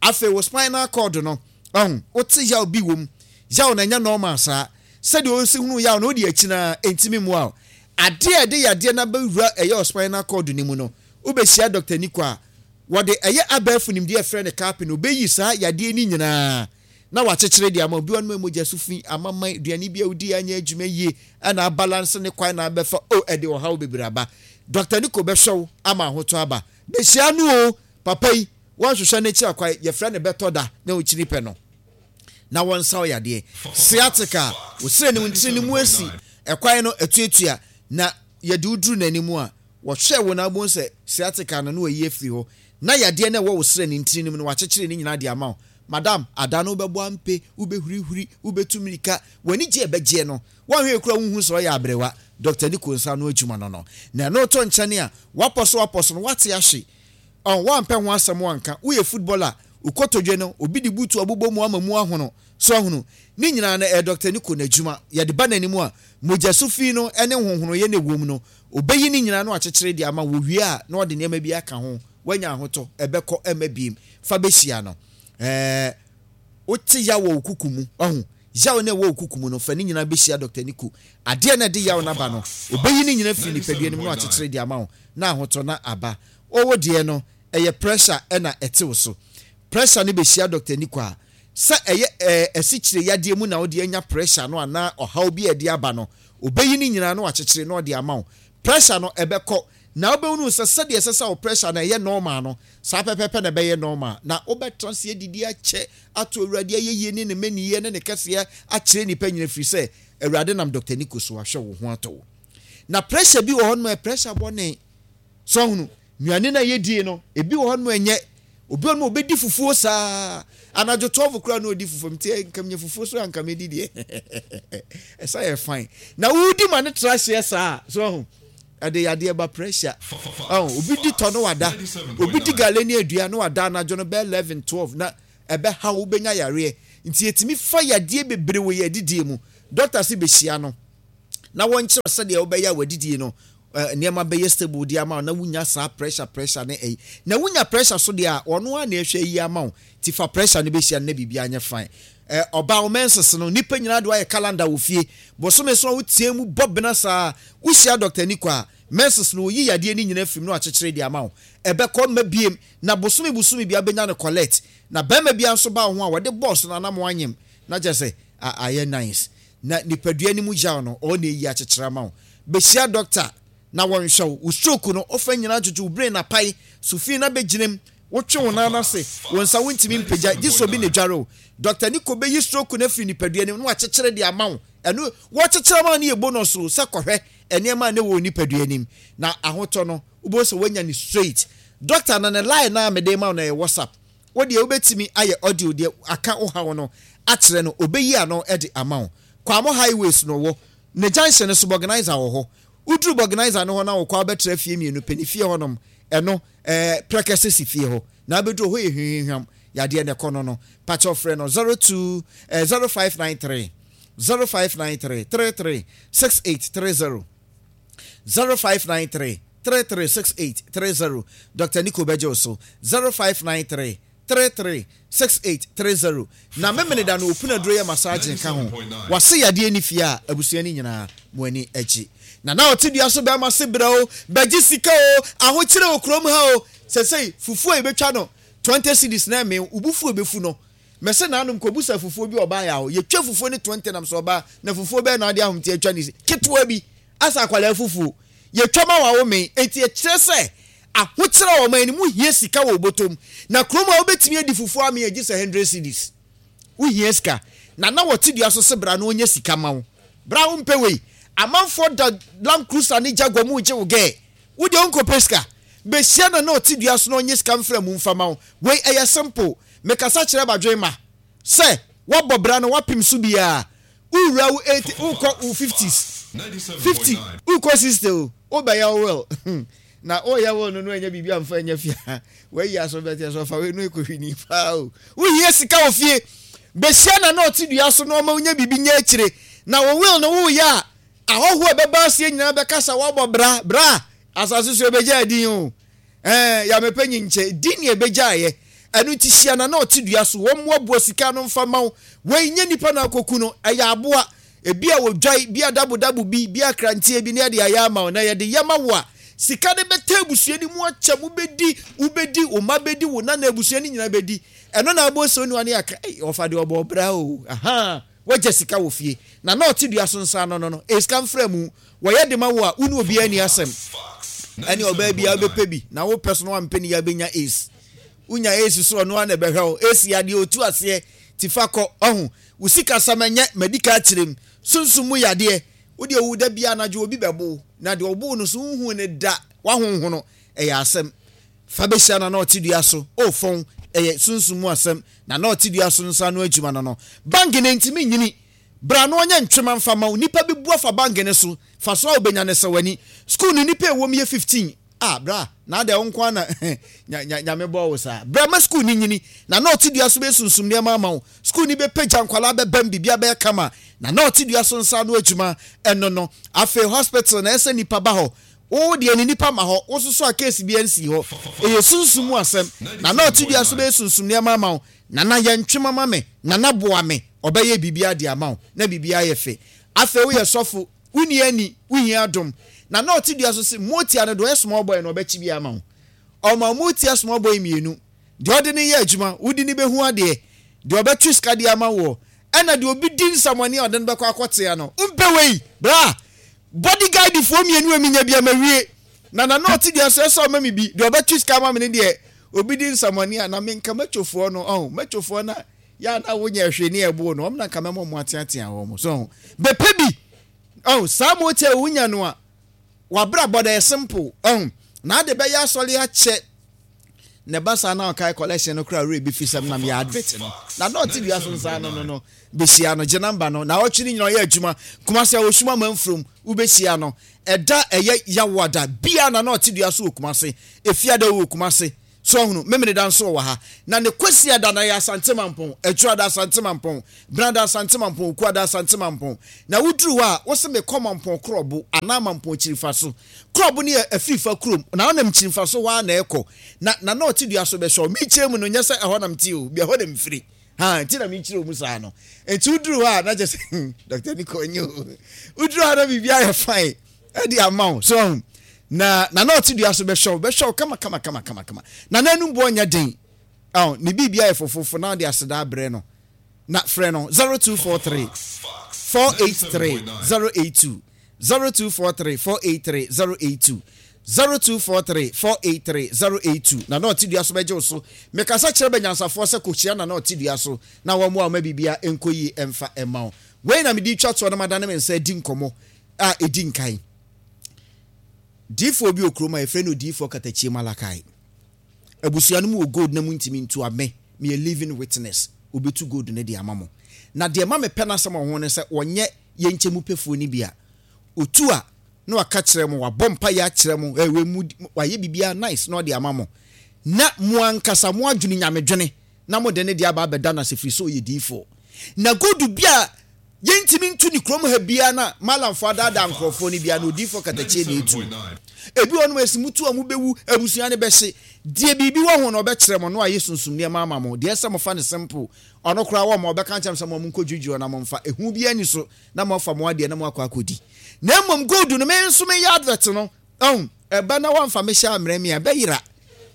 Afei wo spinal cord no ɔho wote yaw bi wom. Yaw na ɛnyɛ normal saa. Sɛdeɛ wosi hunu yaw no wode akyi na ɛntumi mmoa wo. Adeɛ a ɛde yadeɛ no abɛwura ɛyɛ wo spinal cord no mu no wobɛhyia Doctor Nico a wɔde ɛyɛ abɛɛfo nimdeɛ frɛ no carping no obɛyi saa yadeɛ no nyinaa na wakyekyere de ama obi wɔn mogya so fi amaman aduane bi a wodi anyɛ adwuma yie ɛna abalance ne kwan na abɛfa o ɛde ɔhaw bebree aba. Doctor Nico bɛhwɛ wo ama ahotɔ aba. Bɛhyia no o papa yi wɔnhwehwɛ n'akyi akwan yɛfrɛ no bɛtɔ da na okyiri pɛ no na wɔnsa wo yadeɛ. Sciatica wosire ne ntiri ne mu asi ɛkwan no atuatua na yɛde wo duru n'anim a wɔhwɛ wo na abom sɛ sciatica no na wɔyi afiri hɔ na yadeɛ no ɛwɔ wo srɛ ne ntiri no mu no wakyekyere ne nyinaa de ama wo. Madam ada no wobɛbɔ ampe wobɛhurihuri wobɛtu mmirika w'ani gye ɛbɛgyeɛ no wɔnhwɛ kura wohu sɛ ɔyɛ aberewa. Doctor Nico nsa no adwuma no no na ɛno to nkyɛne a wapɔ so wapɔ so no wate ahye ɔn wampɛ ho asɛm wanka woyɛ footballer ukotodwe no obi de butu abobɔ mu ama mu ahono so ahono ne nyinaa no ɛyɛ Doctor Nico n'adwuma yɛde ba n'anim a mogya so fi no ɛne honhonoyɛ ne wom no obɛyi ne nyinaa no akyekyere de ama wo wie a na ɔde nneɛma bi aka ho wanya ahotɔ ɛbɛkɔ ɛma biem fa bɛhyia no ɛɛ wote yaw wɔ wo kuku mu ɔho yaw na ɛwɔ wo kuku mu no fa ne nyinaa bɛhyia Doctor Nico adeɛ na ɛde yaw no aba no obɛyi ne nyinaa firi nipadua no mu na akyekyere de ama wo na ahotɔ na aba ɔwɔ deɛ no ɛyɛ pressure ɛna ɛte wo so pressure no bɛhyia Doctor Nico a sɛ ɛyɛ ɛɛ asikyire yadeɛ mu na wode anya pressure no anaa ɔhaw bi a ɛde aba no obɛyi ne nyinaa na wakyekyere na ɔde ama wo pressure no ɛbɛkɔ na wobɛhunu sɛ sɛdeɛ ɛsɛ sɛ wo pressure no ɛyɛ normal no saa pɛpɛpɛ na ɛbɛyɛ normal na wobɛtena se adidi akyɛ ato Awurade ayɛyie ne ne mmaniyɛ ne ne kɛseɛ akyerɛ nnipa nyina firi sɛ Awurade nam Doctor Nico so ahwɛ wo ho atɔ wo. Na pressure bi wɔ hɔ nom ɛ pressure bɔne so ahunu nnuane na yɛdie no ebi wɔ hɔ nom ɛnyɛ obi wɔ nom obɛdi fufuo saa anadwo twelve koraa na ɔdi fufuo nti nka menya fufuo so anka medi deɛ ɛsa yɛ fine na wodi ma ne tra hyeɛ saa so ahunu ɛde yadeɛ ba pressure ɔn obi di tɔ no wada obi di gale ne adua no wada anadwo no bɛyɛ eleven twelve na ɛbɛha wo bɛnya yareɛ Nti yɛtumi fa yadeɛ bebree wɔ yɛn adidie mu. Doctor se bɛhyia no na wɔnkyerɛ sɛdeɛ wobɛyɛ a w'adidie no nneɛma bɛyɛ stable de ama wo na wonya saa pressure pressure ne ɛyi. Na wonya pressure so deɛ a, ɔno ara na ɛhwɛ yi ama wo. Ti fa pressure no bɛhyia no na biribiara nyɛ fine. Ɛ ɔbaa wo menses no, nnipa nyinaa de woayɛ calendar wɔ fie. Bosome so a woteɛ mu bɔ bena saa. Wohyia Doctor Niko a, menses no ɔyi yadeɛ no nyinaa firi mu na wakyekyere de ama wo. Ɛbɛkɔ mma biem na bosome bosome biara bɛnya no collect. Na barima biara nso ba wo ho a wɔde bɔs no anam anyem na kyerɛ sɛ ayɛ nice. Na nipadua no mu yaw no ɔɔ na eyi akyekyere ama wo. Behyia doctor na wɔnhwɛ wo. Wo stroke no ɔfa nyinaa twetwe wo brain apae so fi na bɛgyina mu. Wotwe wo nan ase, wo nsa wontumi mpagya gye sɛ obi na edware wo. Doctor Nico bɛyi stroke no afiri nipadua no mu na wakyekyere de ama wo. Ɛno wɔkyekyere ama wo no yɛ bonus o sɛ kɔhwɛ nneɛma a na ɛwɔ wo nipadua no mu. Na ahotɔ no wobɛhu sɛ woanya no straight. Doctor no ne line no a mede rema wo no ɛyɛ WhatsApp. Wo deɛ wobɛtumi ayɛ audio deɛ aka wo haw no akyerɛ no, ɔbɛyi ano de ama wo. Kwamo highways no wɔ ne junction no so, Borgnizer wɔ hɔ. Woduru Borgnizer no hɔ na wokɔ a wobɛtra fie mmienu pɛ, ne fie hɔnom, ɛno ɛɛ Prɛkɛsɛ si fie hɔ. Na wobɛduru hɔ yɛ hwihwihwam, yadeɛ na ɛkɔ no no. Pakyɛw frɛ no zero two eh, zero five nine three, zero five nine three, three three six eight three zero, zero five nine three, three three six eight three zero. Doctor Nico bɛgye wo so, zero five nine three, three three six eight three zero. Na Memeneda no opunu aduro yɛ massaging ka ho. Wase yadeɛ nni fie a, abusua no nyinaa mo ani agye. Na na ɔte dua so bɛrima se brɛ o, bɛgye sika o, ahokyere wɔ kurom ha o. Sesei fufuo a yɛbɛtwa no twenty cedis na ɛmee wo bo fu a ɛbɛfu no. Mese nanom kɔbusa fufuo bi ɔbaa yɛ a hɔ, yɛtwa fufuo no twenty nam sɛ ɔbaa na fufuo bɛn na wode ahomte atwa ne ketewa bi asɛ akwadaa fufuo. Yɛtwa ma wo a womee. Enti ɛkyerɛ sɛ ahokyerɛ wɔ ɔman no mu, wohia sika wɔ wo bɔtɔ mu. Na kurom a wobɛtumi adi fufuo amee a gye sɛ hundred cedis. Wohia sika. Na na wɔte dua so se bra na ɔnyɛ sika ma wo. Bra wompɛ wei. Amanfoɔ da Land Cruiser ne Jaguar mu regye wo gɛɛ. Wo deɛ wonkɔpɛ sika. Bɛhyia no na ɔte dua so na ɔnyɛ sika mfra mu mfa ma wo. Wei ɛyɛ simple. Mekasa kyerɛ badwemma sɛ woabɔ bra na woapem so biara. Wowura wo eighty, wokɔ wo fifties, fifty, wokɔ sixty o, wobɛyɛ wo will. Na woyɛ will no no ɛnyɛ biribi amfa ɛnyɛ fie a, wayi aso bɛteɛ so ɔfa wei no ɛkɔhwini paa o. Wohia sika wɔ fie. Bɛhyia na na ɔte dua so na ɔma wonya biribi nya akyire. Na wo will no woyɛ a, ahɔhoɔ a ɛbɛba aseɛ nyinaa bɛka sɛ woabɔ bra, bra, asase so ɛbɛgya din o. Ɛɛ, yɛamɛpɛ nyinkyɛ, din ne ɛbɛgyaeɛ. Ɛno nti hyia na na ɔte dua so, wɔmmoaboa sika no mfa mma wo. Wei nyɛ nipa na akɔku no, ɛyɛ aboa. Ebi a wɔdwae, bi a dabodabo bi, bi a kranteɛ bi na yɛde ayɛ ama wo. Na yɛde yɛ ma wo a, sika no bɛtɛ abusua no mu akyɛ, mobɛdi, wobɛdi, wo mma bɛdi, wo nana abusua no nyinaa bɛdi. Ɛno na abɔ sɛ onua no aka, ei, ɔfa deɛ ɔbɔ bra o, ahaa, wagya sika wɔ fie. Na na ɔte dua so nsa ano no no, ɛyɛ sika mfra mu. Wɔyɛ de ma wo a, wo ne obiara nni asɛm. Ɛne ɔbaa biara wobɛpɛ bi, na wopɛ so na wampɛ ne yɛ abɛnya AIDS. Wonya AIDS so ɔno ara na ɛbɛhwɛ wo. AIDS yɛ adeɛ ɔtu aseɛ, ti fa kɔ. Ɔho, wo sikasɛm ɛnyɛ, madi ka akyerɛ mu. Sunsum mu yadeɛ, wo deɛ wo da biara anadwo obi bɛbo wo, na deɛ ɔbo wo no so wonhuu no da, wahonhono, ɛyɛ asɛm. Fa bɛhyia na na ɔte dua so, o fɔn, ɛyɛ sunsum mu asɛm, na na ɔte dua so nsa ano adwuma no no. Bank no ntumi nyini. Bra na ɔnyɛ ntwema mfa ma wo. Nipa bi bu afa bank no so, fa so a wobɛnya no sɛ w'ani. School no nipa a ɛwɔ mu yɛ fifteen. Ah bra, na adɛn wo nko ara na nya nya Nyame bɔɔ wo saa. Bra ma school no nyini, na na ɔte dua so bɛsunsum nneɛma ama wo. School no bɛpagya, nkwadaa bɛbam, biribiara bɛyɛ kama. Na na ɔte dua so nsa ano adwuma, ɛno no. Afei hospital na ɛsɛ nipa ba hɔ. Wo deɛ ne nipa ma hɔ, wo soso a case biara nsii hɔ. Ɛyɛ sunsum mu asɛm. Na na ɔte dua so bɛsunsum nneɛma ama wo. Nana yɛ ntwema ma me, Nana boa me, ɔbɛyɛ biribiara de ama wo, na biribiara ayɛ fɛ. Afei woyɛ sɔfo, wonni ani, wohia adom. Na na ɔte dua so se, Motia no deɛ ɔyɛ small boy no ɔbɛkye bi ama wo. Ɔma motia small boy mmienu, deɛ ɔde no yɛ adwuma, wode no bɛhu adeɛ, deɛ ɔbɛtwe sika de ama woɔ, ɛna deɛ obi di nsamɔne a ɔde no bɛkɔ akɔtea no. Wompɛ wei? Bra! Bodyguard foɔ mmienu a menya bi a mawie. Na na na ɔte dua so ɛsɛ ɔma me bi, deɛ ɔbɛtwe sika ama me no deɛ obi di nsamɔne a, na menka mɛtwofoɔ no, ɔho, mɛtwofoɔ no a, yɛ a na wonyɛ hwee ne ɛbo no, wɔn na nka mɛma wɔn ateatea wɔn so, ɔho. Bɛpɛ bi, ɔho, saa motia a wonya no a, wabrabɔ da yɛ simple, ɔho, na ade bɛyɛ asɔre akyɛ, na ɛba saa na ɔkae collection no koraa werɛ bi fi sɛm nam yɛ advert no, na na ɔte dua so nsa no no no, bɛhyia no, gye namba no, na ɔtwe no nyina ɔyɛ adwuma, Kumasi a wɔsum amanfurom, wobɛhyia no, ɛda ɛyɛ yawoada, bia na na ɔte dua so wɔ Kumasi, efiada wɔ Kumasi, So ahunu Memeneda nso wɔ ha. Na ne Kwasiada na yɛ Asante Mampɔn, Adwuada Asante Mampɔn, Benada Asante Mampɔn, Okuada Asante Mampɔn. Na woduru hɔ a, wose mekɔ Mampɔn Korɔbo anaa Mampɔn Kyirifa so. Korɔbo no yɛ Afirifa kurom, na wonam Kyirifa so hɔ ara na ɛkɔ. Na Nana ɔte dua so bɛhwɛ wo. Mekyerɛ mu no, nyɛ sɛ ɛhɔ na mete o, bia ɛhɔ na mfiri. Ha, nti na mekyerɛ wo mu saa no. Nti woduru hɔ a, na kyerɛ sɛ, Doctor Nico ɔnyɛ o. Woduru hɔ a na biribi ayɛ fine ɛde ama wo. So ahu. Na Nana ɔte dua so bɛhwɛ wo, bɛhwɛ wo kama kama kama kama kama. Nana anum boɔ nyɛ den. Aw, ne biribi ayɛ fofofo na ɔde aseda abrɛ no. Na frɛ no zero two four three four eight three zero eight two, zero two four three four eight three zero eight two, zero two four three four eight three zero eight two. Nana ɔte dua so bɛgye wo so. Mekasa kyerɛ bɛnyansafoɔ sɛ kɔhyia Nana ɔte dua so na wɔmmoa wo ma biribia nkɔ yie ɛmfa ɛma wo. Wei na mede twa toɔ na madane me nsa adi nkɔmmɔ a ɛdi nkan. Diifoɔ bi wɔ kurom a yɛfrɛ no Odiyifoɔ Katakyie Malakai. Abusua no mu wɔ gold na muntumi ntu a, me, meyɛ living witness. Obetu gold no de ama mo. Na deɛ ɛma mepɛ n'asɛm wɔ ho ne sɛ ɔnyɛ yɛn nkyɛn mu pɛfoɔ no bi a, otu a, na waka kyerɛ mo, wabɔ mpaeɛ akyerɛ mo, eh, wei mu, wayɛ biribiara nice na ɔde ama mo. Na mo ankasa mo adwene nyamedwene na mode ne deɛ aba abɛda no ase firi sɛ ɔyɛ diyifoɔ. Na gold bi a yɛntumi ntu ne kurom ha biara na Malamfoɔ adaadaa nkurɔfoɔ no biara na odiyifoɔ Katakyie na ɛtu. Ebi wɔ nom a ɛsi mutu a mobɛwu, abusua no bɛhye. Deɛ biribi wɔ ho na ɔbɛkyerɛ mo na wayɛ sunsum nneɛma ama mo. Deɛ ɛsɛ mofa no simple. Ɔno koraa wɔ ma ɔbɛka nkyɛn sɛ mo monkɔ dwiridwiri na momfa. Ehu biara ni so na moafa mo adeɛ na moakɔ akɔdi. Na mmom gold no, me nso meyɛ advert no. Ɔn, ɛba na wamfa me hyɛ ammerɛ me a, ɛbɛyera.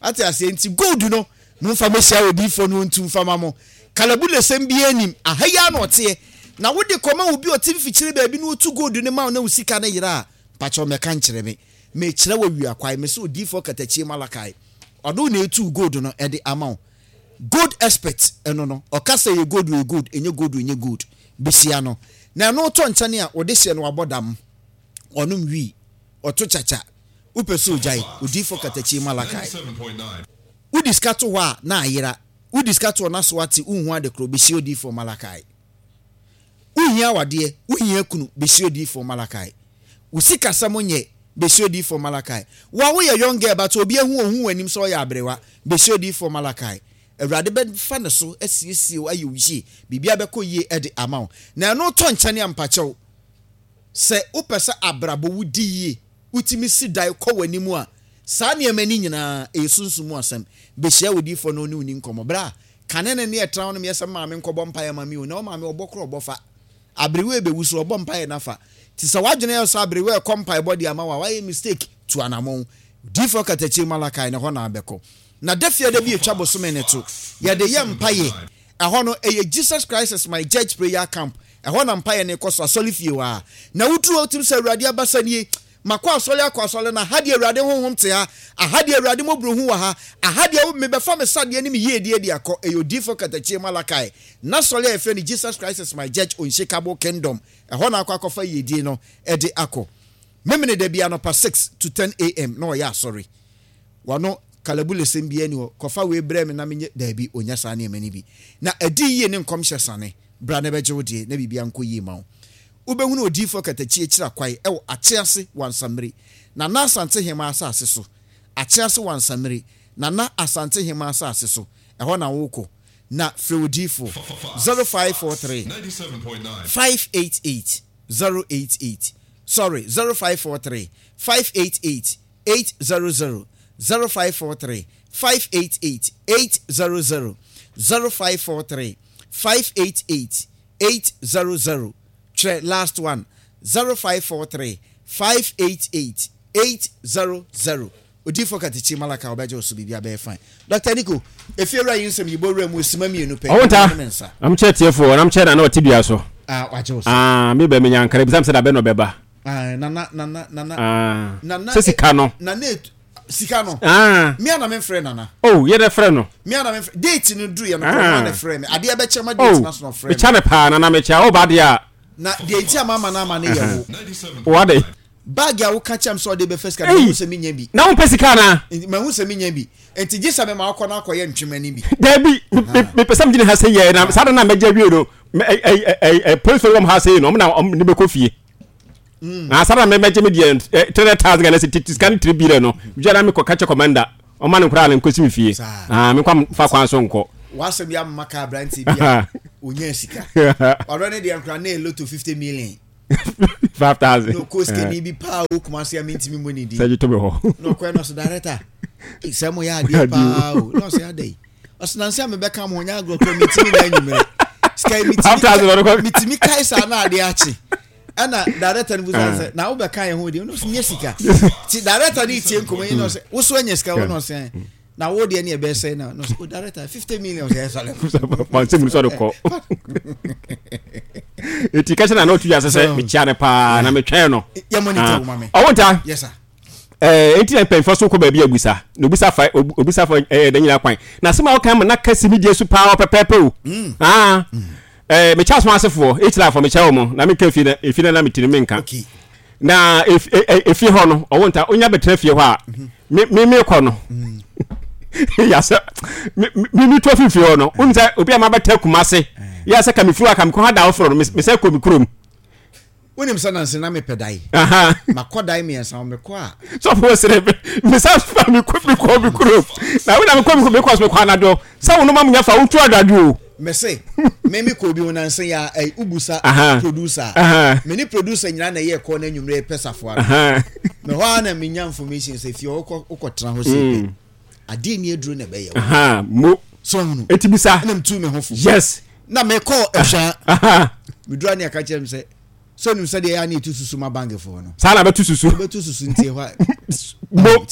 Ate aseɛ nti gold no, momfa me hyɛ odiyifoɔ no ɔntu mfa ma mo. Kalabulesɛm biara nim. Aha yi ara na ɔteɛ. Na wode kɔma obi a ɔte mfikyire baabi na ɔtu gold no ma wo na wo sika no yera a, mpakyɛw mɛka nkyerɛ me. Mekyerɛ wɔ wia kwae, me sɛ odiyifoɔ Katakyie Malakai. Ɔno na ɛtu gold no ɛde ama wo. Gold expert ɛno no, ɔka sɛ yɛ gold yɛ gold, ɛnyɛ gold ɛnyɛ gold. Besia no. Na ɛno tɔ nkyɛne a wɔde hyɛ no wabɔ dam. Ɔnom wii, ɔto kyakya. Wopɛ sɛ ogyae, odiyifoɔ Katakyie Malakai. Wodi sika to hɔ a na ayera. Wodi sika to hɔ na so ate, wonhu ade korɔ, besia odiyifoɔ Malakai. Wohia awadeɛ, wohia kunu, besia odiyifoɔ Malakai. Wo sikasɛm nyɛ, besia odiyifoɔ Malakai. Wo a woyɛ young girl but obi ahu ohu w'anim sɛ ɔyɛ aberewa, besia odiyifoɔ Malakai. Awurade bɛfa ne so asiesie wo ayɛ wo yie, biribiara bɛkɔ yie ɛde ama wo. Na ɛno tɔ nkyɛne a mpakyɛw, sɛ wopɛ sɛ abrabɔ wo di yie, wotumi si dan kɔ w'anim a, saa nneɛma ni nyinaa ɛyɛ sunsum mu asɛm. Behyia odiyifoɔ na ɔne wo ni nkɔmmɔ. Bra, kane ne ne ɛtena hɔ no meyɛ sɛ maame nkɔbɔ mpaeɛ ma me o, na wo maame ɔbɔ korɔ ɔbɔ fa. Aberewa ɛbɛwu so ɔbɔ mpaeɛ nafa. Nti sɛ w'adwene yɛ sɛ aberewa ɛkɔ mpaebɔ de ama wo a, wayɛ mistake, tu anammɔn. Odiyifoɔ Katakyie Malakai ne hɔ na abɛkɔ. Na da fiada bi etwa bosome ne to, yɛde yɛ mpaeɛ. Ɛhɔ no, ɛyɛ Jesus Christ is my judge prayer camp. Ɛhɔ na mpaeɛ ne kɔ so, asɔre fie hɔ a. Na woduru hɔ wotim sɛ Awurade abasa nie. Makɔ asɔre akɔ asɔre na ha deɛ Awurade honhom te ha. Aha deɛ Awurade mmɔborɔhu wɔ ha. Aha deɛ mebɛfa me sadeɛ ne me yiedie de akɔ. Ɛyɛ odiyifoɔ Katakyie Malakai. N'asɔre a yɛfrɛ no Jesus Christ is my judge unshakable kingdom. Ɛhɔ na akɔ akɔfa yiedie no ɛde akɔ. Memene da bi anɔpa six to ten A M na ɔyɛ asɔre. Wano kalabulesɛm biara ni hɔ. Kɔfa wei brɛ me na menyɛ daabi onya saa nneɛma no bi. Na ɛdi yie ne nkɔmhyɛ sane. Bra na ɛbɛgye wo deɛ na biribiara nkɔ yie ma wo. Wobɛhunu odiyifoɔ Katakyie kyerɛ kwae ɛwɔ Akyease Wansamire. Nana Asante Hema asase so. Akyease Wansamire. Nana Asante Hema asase so. Ɛhɔ na wokɔ. Na frɛ odiyifoɔ zero five four three five eight eight zero eight eight. Sorry, zero five four three five eight eight eight zero zero. zero five four three five eight eight eight zero zero. zero five four three five eight eight eight zero zero. Twerɛ last one zero five four three five eight eight eight zero zero. Odiyifoɔ Katakyie Malakai ɔbɛgye wo so biribi abɛyɛ fine. Doctor Nico, efie wura yi nsɛm yi bɔ wura mu osima mmienu pɛ. Ɔwɔ nta. Ɛna ne nsa. Am kyerɛ tiefoɔ, nam kyerɛ na na ɔte dua so. Ah, wagye wo so. Ah, mi bɛ mi nyankara bisam sɛ da bɛ na ɔbɛba. Ah, nana, nana, nana. Ah. Nana, Sɛ sika no. Nana etu sika no. Ah. Mi ana me frɛ nana. Oh, yɛ dɛ frɛ no. Mi ana me frɛ. Date no duru yɛ no, Ah. kɔn na frɛ me. Adeɛ bɛkyɛ ma date Oh, na so na frɛ me. mekyɛ ne paa nana mekyɛ. Oh, ba deɛ a. Na deɛ nti ama ama na ama ne yɛ wo. Wa de. Bag a woka kyɛm sɛ ɔde bɛfɛ sika, Ei. mahu sɛ menya bi. Na wompɛ sika anaa? Nti, mahu sɛ menya bi. Nti gye sɛ mema wokɔ na akɔyɛ ntwema ni bi. Dabi, mepɛ sɛ megyina ha sɛ yɛ, na saa da na mɛgye awie no, mɛ, ɛ, ɛ, ɛ, ɛ, polisi wɔ m ha sɛ yi no, ɔmo na ɔmo ne bɛkɔ fie. Na saa da na mɛgye me deɛ, ɛ, three hundred thousand Ghana cedi, sika no three billion no, gye na mekɔ ka kyɛ commander. Ɔma ne nkoraa no nkɔsi me fie. Ah, menkwa fa kwan so nkɔ. W'asɛm yi ama ka aberante bi a ɔnya sika. Ɔdɔ ne deɛ nkora na ɛloto fifty million. five thousand. Na ɔkɔ sikani bi paa wɔ Kumasi a mentumi mmɔ ne din. Sɛ gye to me hɔ. Na ɔkɔɛ na ɔsɛ director, sɛ mo yɛ adeɛ paa o. Na ɔsɛ adɛ yi. Ɔsɛ nansi a mebɛka mo ho nyɛ agorɔ kora mentumi na anwummerɛ. Sika yi metumi metumi kae saa na adeɛ akye. Ɛna director no busa sɛ na wobɛka yɛn ho deɛ ɔno nyɛ sika. Ti director no tie nkɔmmɔ yi na ɔsɛ woso anya sika wo na ɔsɛ na wo deɛ ne ɛbɛyɛ sɛ na ɔsɛ o director fifty million sɛ ɛsɔre. Pansɛ mu sɔre kɔ. Eti kɛse na na otu yɛ sɛ mekyia no paa na metwɛn no. Yɛ monitor wo ma me. Ɔwo nta. Yes sir. Eh, enti na mpanyinfoɔ so kɔ baabi abusa na obisa fa obisa fa ɛyɛ dɛ nyinaa kwan na asɛm a wɔka ma na kasi mi die so paa ɔpɛpɛɛpɛ o. Ah. Eh, mekyɛ asom asefoɔ ekyirafo mekyɛ wɔn na meka efie na efie na na metiri menka. Okay. Na efie hɔ no ɔwo nta onya bɛtena fie hɔ a me me me kɔ no. Yasɛ me me me tu afi fie hɔ no n sɛ obi a ma bɛtɛ Kumase yasɛ ka me firi hɔ a ka me kɔ ha da foforɔ no me sɛ kɔ me kurom. Wonim sɛ nanse na mepɛ dae. Makɔ dae mmiɛnsa mekɔ a. Sɔfo sere me sa fa me kɔ me kɔ me kurom. Na wo na me kɔ me kɔ me kɔ so me kɔ anadwo. Sɛ wo no ma munya fa wo tu adwadwo o. Me se me me kɔ obi ho nanse ya ai ubusa producer. Me ne producer nyina na yɛ kɔ na anwumere pɛ safoa no. Me hɔ a na me nya information sɛ fie wokɔ wokɔ tena hɔ sɛ pɛ. Ade ni aduro na ɛbɛyɛ wo. Mo. So hunu. Eti bisa. Na mtu me ho fo. Yes. Na me kɔ ɛhwa. Me dura ne aka kyerɛ me sɛ so nim sɛ deɛ ɛyɛ a na ɛtu susu ma bankfoɔ no. Saa na bɛtu susu. Bɛtu susu nti ɛhɔ a. Mo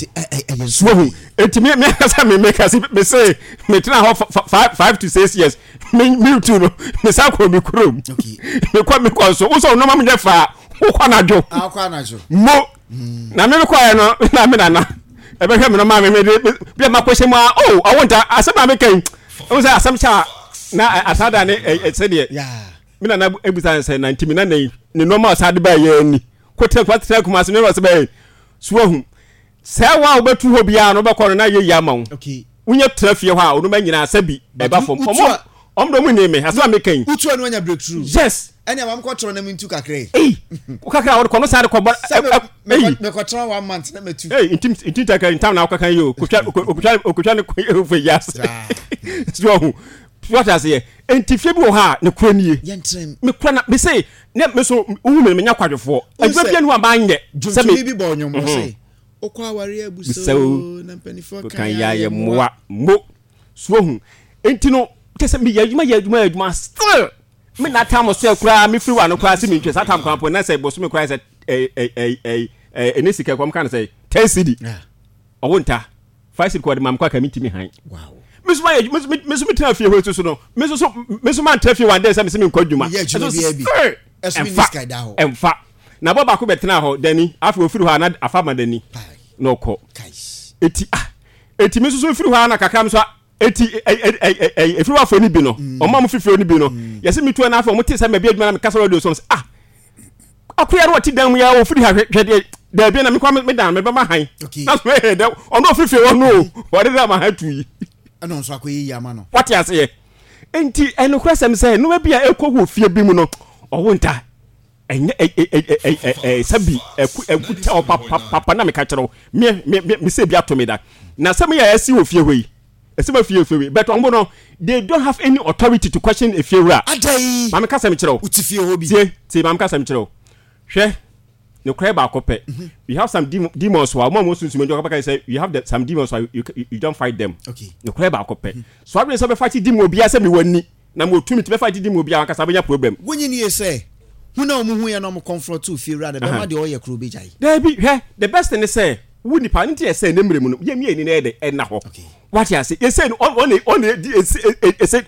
suohu eti mi mi akasa mi mi kasi mi se mi tena hɔ five five to six years mi mi tu no mi sa kɔ mi kurom. Mi kɔ mi kɔ nso wosɔ nneɛma mi nyɛ fa wokɔ anadwo. Akɔ anadwo. Mo na mi mi kɔ yɛ no na mi nana ɛbɛhwɛ mi no maa mi mi de bi a ma kɔ hyɛ mu a o ɔwɔ nta asɛm a mi kɛn ɛwɔ sɛ asɛm kyɛ a na asada ne ɛ sɛdeɛ. Me nana ebusa sɛ na ntimi na ne ne nneɛma a ɔsan de baa yɛ ni kɔtena kuma tena kuma ase nneɛma ɔsɛ bɛyɛ so ahu sɛ wa a wobɛtu hɔ biara no wobɛkɔ no na yɛ yie ama wo wonya tena fie hɔ a onoma nyinaa sɛ bi ɛba fam ɔmo ɔmo de ɔmo nni me asɛm a meka yi wotu a no anya breakthrough yes ɛne ama mekɔtena na mentu kakra yi ei kakra a wɔde kɔ no saa de kɔbɔ sɛ mekɔtena one month na matu ei ntim ntim takra ntam na wokaka yi o kotwa okotwa okotwa ne kɔ fɛ yas so ahu what I say enti fie bi wɔ hɔ a ne kura nie me kura na me se ne me so wohu me menya kwadwofoɔ adwuma bia ne hɔ a manyɛ sɛ me bi bɔ nnwom mm -hmm. Wokɔ aware abusa o na mpanimfoɔ kan yɛ ayɛ mmoa mo so ahu enti no kyɛ sɛ meyɛ adwuma yɛ adwuma yɛ adwuma still me na tam so koraa me firi wa no koraa sɛ mentwa saa tam koraa mpo na sɛ bosome koraa sɛ ɛne sika kɔm ka no sɛ ten cedi ɔwo nta five cedi kɔ de ma me kɔ aka mentimi han. Wow. Me so ma me me so me tena fie hɔ so no me so so me so ma tena fie one day sɛ me se me nkɔ adwuma. Yɛ adwuma bi bi. Ɛso mi sika da hɔ. Ɛmfa. Na bɔ baako bɛ tena hɔ dani afei ofiri hɔ ana afa ma dani. Na ɔkɔ. Eti ah eti me so so firi hɔ ana kakra me so eti ɛ ɛ ɛ efiri hɔ afɔ ni bi no. Ɔmo a mo fifiri ni bi no. Yɛsɛ me tu na afei ɔmo te sɛ mɛ bi adwuma na me kasa radio so ah akoya no ɔte dan mu ya ofiri ha hwɛ deɛ daabi na mekɔ me dan me bɛma han na so ɛyɛ dɛ ɔno ofiri fie hɔ no o ɔde dɛ ma han tu yi ɛna nso akɔyɛ yi ama no wate aseɛ nti ɛnokorɛ sɛm sɛ nneɛma bi a ɛkɔ wɔ fie bi mu no ɔwo nta ɛnyɛ ɛ sɛbi ɛku ɛku tɛ ɔ papapapa na meka kyerɛ wo me me me sɛ bi ato me da na sɛ meyɛ ɛsi wɔ fie hɔ yi ɛsɛ ma fie fie but ɔmo no they don't have any authority to question efie wura. Adayi. Maame kasa mi kyerɛ o. Uti fie hɔ bi. Tie tie maame kasa mi kyerɛ o. Hwɛ ne kura baako pɛ. We have some demons wa ɔmo a mo sunsun mi ɔkɔ sɛ we have the, some demons wa you, you, you don't fight them. Okay. Ne kura baako pɛ. So abiri sɛ ɔbɛ fight demon obiara sɛ mi wɔ ni na mo tumi ti bɛ fight demon obiara ankasa bɛ nya problem. Wonyi ni yɛ sɛ hun na ɔmo hu yɛ na ɔmo confront fie wura na bɛma deɛ ɔyɛ kuro bi gya yi. Dɛbi hwɛ the best ne sɛ wo nipa ne ti yɛ sɛ ne mmerɛ mu no yɛ mi yɛ ni na yɛ dɛ ɛna hɔ. Wate ase yɛsɛ no ɔne ɔne di ese ese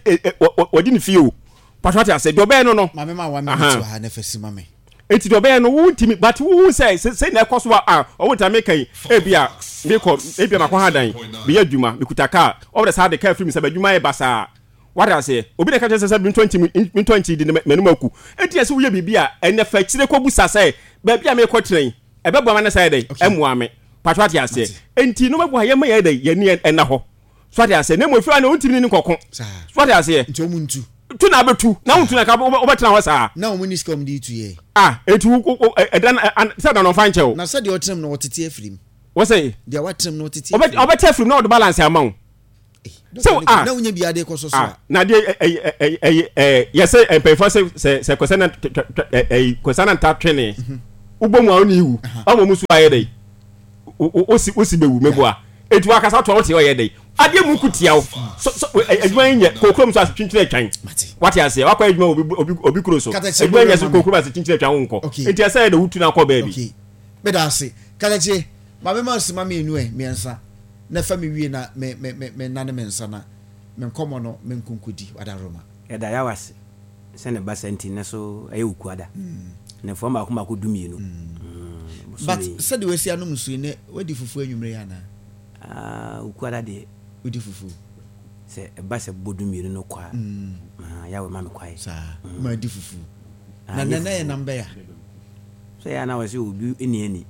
ɔdi ne fie o patro ate ase deɛ ɔbɛyɛ no no. Maame ma wa mi ti wɔ ha ne fɛ si ma mi. Eti deɛ ɔbɛyɛ no wo ntumi but wo sɛ sɛ na ɛkɔ so a ɔwɔ ntumi meka yi ebi a mekɔ ebi a makɔ ha dan meyɛ adwuma mekuta kaa ɔwɔ saa de kaa firi mi sɛ adwuma yɛ basaa wate ase obi na ɛka kyerɛ sɛ sɛ mentɔ nti mentɔ nti di m'anum aku eti ɛsɛ woyɛ biribi a ɛnɛ fɛ kyerɛ kɔ busa sɛ baabi a mekɔ tena yi ɛbɛboa ma ne sɛ ɛdɛ ɛmoa me patro ate ase enti no bɛboa yɛ ma yɛ dɛ yɛ ni ɛna hɔ so ate ase na mo efira na ontimi ne nkɔko so ate ase nti ɔmo ntu tu na abɛtu na wontu na ka wobɛtena hɔ saa na ɔmo ni sika ɔmo de tu yɛ ah eti wo ɛdan sɛ dan ɔmfa nkyɛw na sɛ deɛ ɔtena mu na ɔtete afiri mu Wɔsɛ deɛ watenam no tete. Ɔbɛte afiri mu na ɔde balance ama wo. So ah, na wonya bi ade kɔ so so a. Na deɛ ɛyɛ ɛyɛ ɛyɛ yɛsɛ mpanyinfoɔ sɛ sɛ sɛ kɔsɛ na ɛyi kɔsɛ na nta twene. Wobɔ mu a ɔne iwu. Ɔmo mu so ayɛ dɛ. Osi osi bɛwu mɛboa. Etu akasa to a wote ɔyɛ dɛ. Adeɛ mu kutia wo. So so adwuma yi nyɛ kokurom so ase kyinkyin atwan. Wate aseɛ, wakɔ adwuma obi obi obi kuro so. Adwuma nyɛ so kokurom ase kyinkyin atwan wo nkɔ. Nti ɛsɛ yɛ dɛ wotu na akɔ baabi. Okay. Meda ase. Katakye, ma me ma sima mmienu ɛ, mmiɛnsa. Na fa me wie na me me me me nane me nsa na me nkɔmɔ no me nkonkodi wadaroma. Yɛda Yahweh ase sɛ ne basa nti nnɛ so ɛyɛ Wukuada. Nnafua mmaako mmaako du mmienu. But sɛdeɛ wasi anom nsuo yi, nnɛ wadi fufuo anwummere yi anaa? Ah, Wukuada deɛ. Wodi fufuo? Sɛ ɛba sɛ bɔ du mmienu no kɔ a, ah, Yahweh ma me kwae. Saa, ma adi fufuo. Na nnɛ na yɛ nam bɛya? Sɛ yɛ a na wɔse obi nni ani.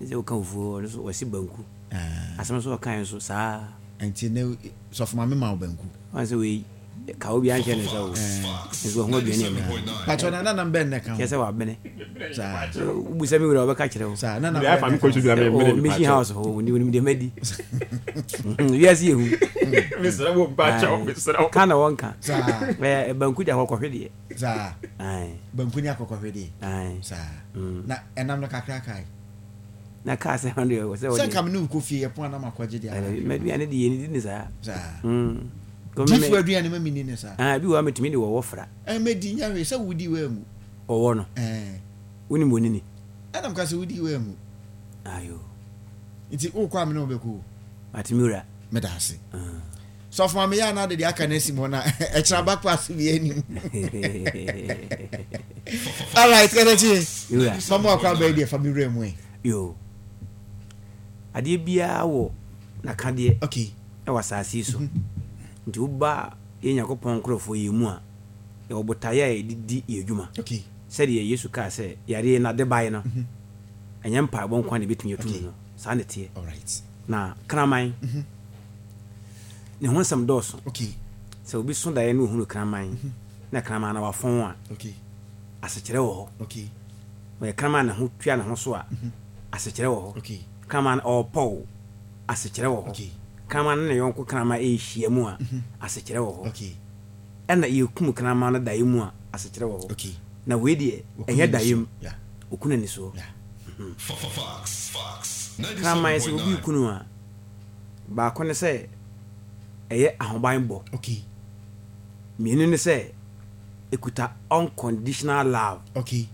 Sɛ woka fufuo, ɔno nso wɔse banku. Asɛm nso ɔkae nso saa. Nti ne sɔfo maame ma wo banku? Wɔn sɛ wei ka obi anhyɛ ne nsa o. Nso wahu aduane a medi. Patro na nanam bɛn na ɛka ho? Kyerɛ sɛ wabene. Saa. Wobusa me wura ɔbɛka kyerɛ wo. Saa nanam bɛn na ɛka ho? Ɔ mission house hɔ onim onim deɛ madi. Wiase yɛ hu. Mesrɛ wo mpakyɛw mesrɛ wo. Ka na wɔnka. Saa. Ɛɛ banku de akɔkɔhwedeɛ. Saa. Banku ne akɔkɔhwedeɛ. Saa. Na ɛnam no kakra kae. Na kaa sɛ hɔn deɛ sɛ Sɛ nka me ne wo kɔ fie yɛ pon a na makɔgye deɛ aka. M'aduane deɛ yɛnidi ne saa. Saa. Diifo aduane ma menni ne saa. Ah, bi wɔ hɔ a metumi de wɔwɔ fra. Eh, medi nyɛ hwee sɛ wodi woanwu. Wɔwɔ no. Eh. Wonim onini. Ɛna meka sɛ wodi woanwu. Ayo. Nti wokɔ a me ne wo bɛkɔ o. Mate me wura. Meda ase. Sɔfo ma meyɛ anaa de deɛ aka no asi mu hɔ na ɛkyerɛ aba kɔ ase bi anim. Alright, kɛtɛkye. Mamu akɔ abɛɛ deɛ fa me wura mu ɛ. Yo. Adeɛ biara wɔ n'akadeɛ. Okay. Ɛwɔ asase yi so. Nti woba yɛn Nyankopɔn nkorɔfoɔ yi mu a, yɛwɔ botaeɛ a yɛde di yɛn adwuma. Okay. Sɛdeɛ Yesu kaa sɛ yareɛ no ade baeɛ no, ɛnyɛ mpaebɔ nko ara na ɛbɛtumi atum no. Saa na ɛteɛ. Alright. Na kraman, ne ho nsɛm dɔɔso. Okay. Sɛ obi so daeɛ na ohunu kraman, na kraman no wafɔn a, Okay. asekyerɛ wɔ hɔ. Okay. Ɔyɛ kraman a ne ho tua ne ho so a, asekyerɛ wɔ hɔ. Okay. Kraman ɔɔpɔw, asekyerɛ wɔ hɔ. Okay. Kraman ne ne yɔnko kraman rehyia mu a, asekyerɛ wɔ hɔ. Okay. Ɛna yɛkum kraman no daeɛ mu a, asekyerɛ wɔ hɔ. Okay. Na wei deɛ, ɛnyɛ daeɛ mu. Ɔku n'ani soɔ. Kraman sɛ obi reku no a, baako ne sɛ ɛyɛ ahobanbɔ. Okay. Mmienu ne sɛ ɛkuta unconditional love. Okay.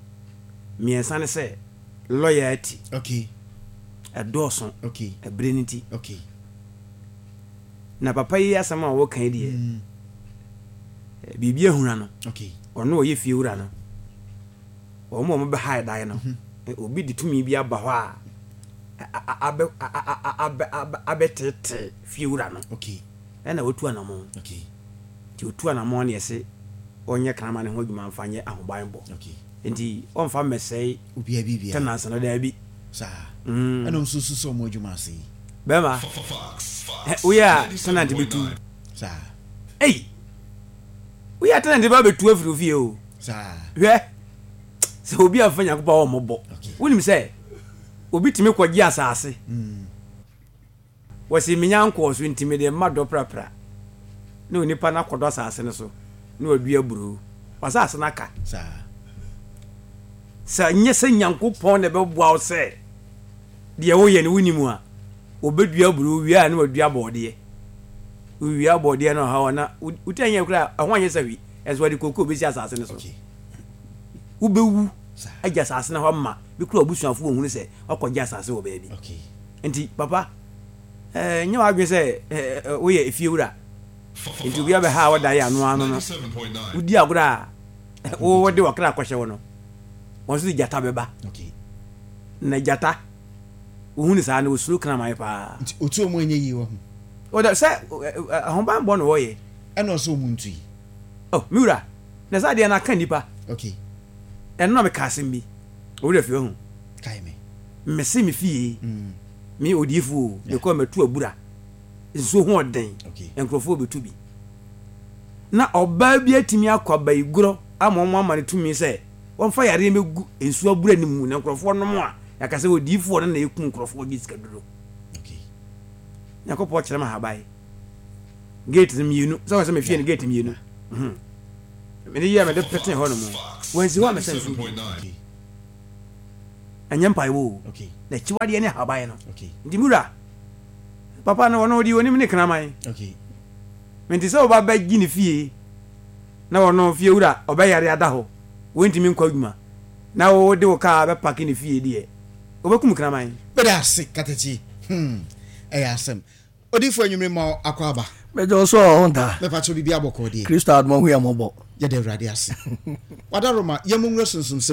Mmiɛnsa ne sɛ loyalty. Okay. Ɛdɔɔso. Okay. Ɛberɛ no nti. Okay. Na papa yi asɛm a wɔka yi deɛ, mm. Biribi ahuna no. Okay. Ɔno ɔyɛ fie wura no. Wɔn a wɔbɛha dan no, mm-hmm. Obi de tumi bi aba hɔ a abɛ abɛ abɛtete fie wura no. Okay. Ɛna otu anamɔn. Okay. Nti otu anamɔn ne yɛse ɔnyɛ kraman ne ho adwuma mfa nyɛ ahobanbɔ. Okay. Nti ɔmfa mmɛsɛe obiara biribiara. Tenants no daabi. Saa. Mm. Ɛna ɔmo nso sɛ ɔmo adwuma ase yi. Bɛrima, woyɛ a tenant bɛtu. Saa. Ei! Woyɛ a tenant bɛ bɛtu afiri ofie o. Saa. Hwɛ, sɛ obi amfa Nyankopɔn a ɔmmɔbɔ. Okay. Wonim sɛ obi tumi kɔgye asase. Mm. Wɔse menya nkɔɔ so nti mede mma dɔ prapra. Na onipa no akɔdɔ asase no so na wadua aburoo. W'asase no aka. Saa. Sɛ nyɛ sɛ Nyankopɔn na ɛbɛboa wo sɛ deɛ woyɛ no wonim a, wɔbɛdua aburoo wie a na wadua bɔɔdeɛ. Wowia bɔɔdeɛ no ɔhaw a na wotumi anyɛ koraa ɛho anyɛ sɛ hwi ɛnso wɔde kokoo bɛsi asase no so. Okay. Wobɛwu Saa. agya asase no hɔ ama bi kura abusuafo wɔhunu sɛ wakɔgye asase wɔ baabi. Okay. Nti papa ɛɛ nyɛ w'adwene sɛ ɛɛ woyɛ efiewura nti obi abɛha a wɔda yɛ ano ano no wodi agorɔ a wode wɔkra akɔhyɛ wo no wɔn nso de gyata bɛba. Okay. Na gyata wohunu saa no osuro kraman paa. Nti otu ɔmo ɛnyɛ yie wɔ ho. Ɔda sɛ ahobanbɔ na wɔyɛ. Ɛna ɔsɛ ɔmo ntu yi. Oh me wura na saa deɛ na aka nipa. Okay. Ɛno na meka asɛm bi. Owura fi wahu. Kae me. Mese me fie. Mm. Me odiifo o. Yeah. Mekɔ mɛtu abura. Nsuo ho ɔden. Okay. Nkurɔfoɔ bɛtu bi. Na ɔbaa bi atumi akɔ abayigorɔ ama wɔn ama no tumi sɛ wɔmfa yareɛ mɛgu nsuo abura no mu na nkurɔfoɔ nom a yɛaka sɛ odiifoɔ no na ɛku nkurɔfoɔ gye sika duro. Nyankopɔn kyerɛ me ahaban gate no mmienu sɛ wɔn sɛ mefie no gate mmienu. Mhm. Mede yɛ mede pete hɔ nom, wɔnsi hɔ a mɛsɛ nsuo bi. Ɛnyɛ mpaebɔ o, na akyiwadeɛ ne ahaban no. Nti mura papa no, ɔno ɔde onim ne kraman. Nti sɛ ɔba bɛgye ne fie na ɔno fie wura ɔbɛyare ada hɔ, wɔntumi nkɔ adwuma, na wode wo kaa bɛpake ne fie deɛ, wobɛkum kraman. Meda ase, Katakyi. hmm ɛyɛ asɛm. Odiifo, anwummere ma akɔ aba. Mɛgye wo so ɔ nta. Mɛpakyɛw, biribi abɔkɔ deɛ? Kristo adom, ɔho yɛ mmɔbɔ. Yɛda Awurade ase. Wadaroma, yɛmmɔ nwura sunsum sɛ